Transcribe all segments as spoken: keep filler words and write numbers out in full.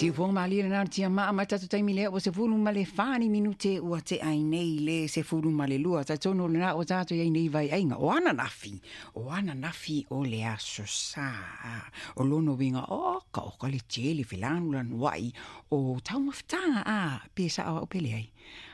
Siufoga malie lena tia maa mai tatou taimi lea ua sefulu ma le fa ni minute ua tea ai nei le sefulu ma le lua. Talitonu lena ua tatou iai nei vaiaiga o ananafi, o ananafi o le aso Sā. O lona uiga oka oka le tele felanulanuai o taumafataga a pe sao au pe leai.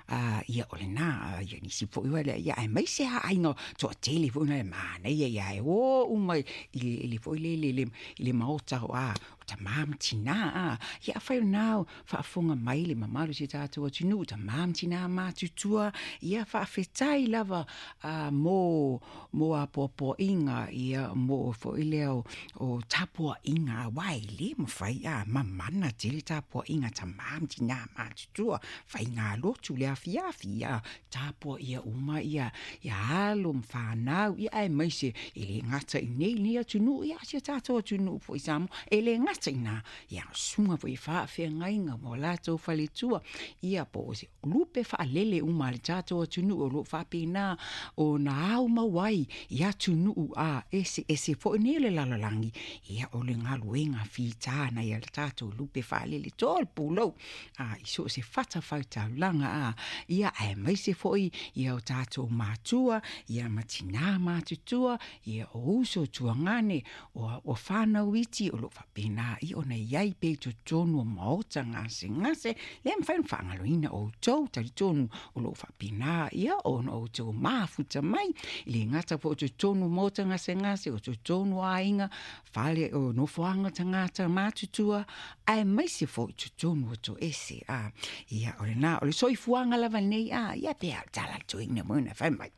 A ia o lena ia nisi foi ua lea ia aemaise a aiga toatele foi na le manaia ia e o uma i le i le foi lele i le i le maota o a o tamā ma tinā a ia afai o lena faafofoga mai le mamalu o si tatou atunuu tamā ma tinā matutua ia faafetai lava a mo mo apoapoaiga ia mo foi lea o o tapuaiga aua e lē mafai a mamana tele tapuaiga tamā ma tinā matutua faigalotu le afiafi ia tapuaia uma ia ia alo ma fanau ia aemaise e lē gata i nei lenei atunuu ia si o tatou atunuu foi Samoa e lē gata iina ia susuga foi i faafeagaiga ma o latou faletua ia po o se lupe faalele uma a le tatou atunuu o loo faapena ona ao mau ai i atunuu a eseese foi nei o le lalolagi ia o le galuega fita nai a le tatou lupe faalele to le pulou a i so o se fatafaitaulaga a ia aemaise foi ia o tatou matua ia ma tinā matutua ia o uso tuagane o o fanau iti o loo faapena ia ona iai pea i totonu o maota gasegase lea mafai ona faagaloina outou talitonu o loo faapena ia ona outou mafuta mai e le gata foi o totonu o maota gasegase o totonu o aiga fale o nofoaga o tagata matutua aemaise foi totonu o toese a ia o lena o le soifuaga lava lenei a ia pe a o le tala a le toeaina mo ona fai mai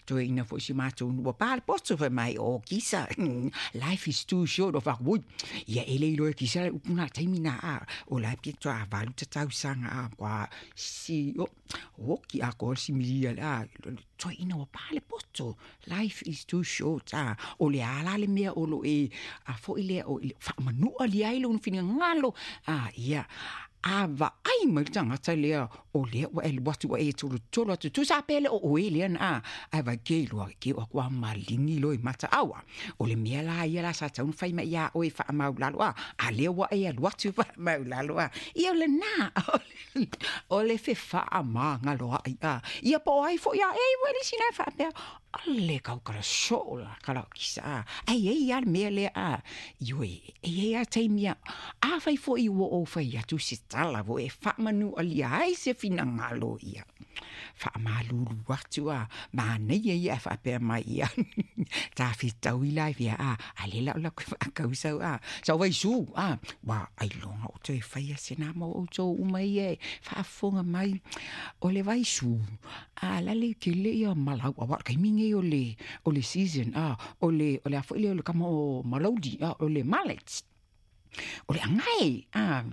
toeaina foi si matou nuu ua pa le poto fai mai o kisa life is too short o faaku oi ia e le iloa e kisa le upu na taimi na a o la e pia toa valu tatausaga a kua si o oki a ko si milia le a toeaina ua pa le poto life is too short a o le a la le mea o lo e a foi lea o faamanua lia ai lona finagalo a ia a vaai mai le tagata lea o lea ua e alu atu ua e tolotolo atu tusa pea le o oe lea na a ae vaai ke iloa ke o aku a maligi loa i mataau a o le mea la ia la sa tatau ona fai mai iā oe e faamaulalo a a lea ua e alu atu faamaulalo a ia o lena o le fefaamagaloai a ia po o ai foi a e ua lisi na e faapea ale kau kala soo la kala o kisa a ae i ai a le mea lea a ioe e i ai a taimi a afai foi ua ou fai atu se tala foi e faamanualia ai se finagalo ia faamalulu atu a manaia ia ae faapea mai ia tafetaui la ia a a le la o lakou faakausau a sau vaisu a ua ailoga o toe faia sena mo outou uma ia e faafofoga mai o le vaisu a lale tele ia malau aua o le taimi lenei o le o le season a o le o le a foi lea o le kama o malauli a o le mullet o le agae a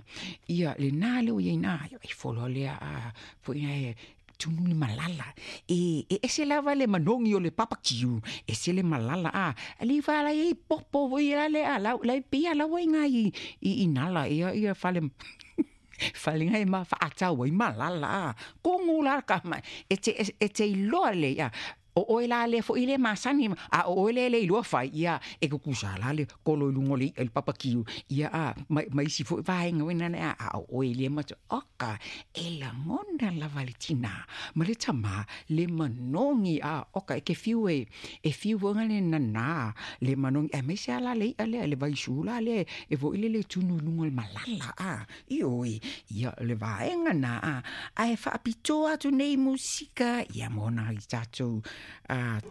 ia lena lea ua i ai ina e folo lea a foi e tunu le malala e e ese lava le manogi o le papakiu ese le malala a ali fa la i popo foi la le a la la pia la ua iga i i nala ia ia fale fale ngai ma faatau ai malala a kogu la ka mai e te e te iloa lelei a o oe la lea foi le masani a o oe lea e le iloa fai ia e kukusa la le kolo i luga o le i'a i le papakiu ia a ma ma isi foi vaega foi nana a o oe lea ma oka e lagona lava le tinā ma le tamā le manogi a oka e ke fiu e e fiu foi le nanā le manogi aemaise a la le i'a lea le vaisu la lea e foi lele tunu i luga o le malala a ioe ia le vaega na a ae faapitoa atu nei musika ia mo nai tatou a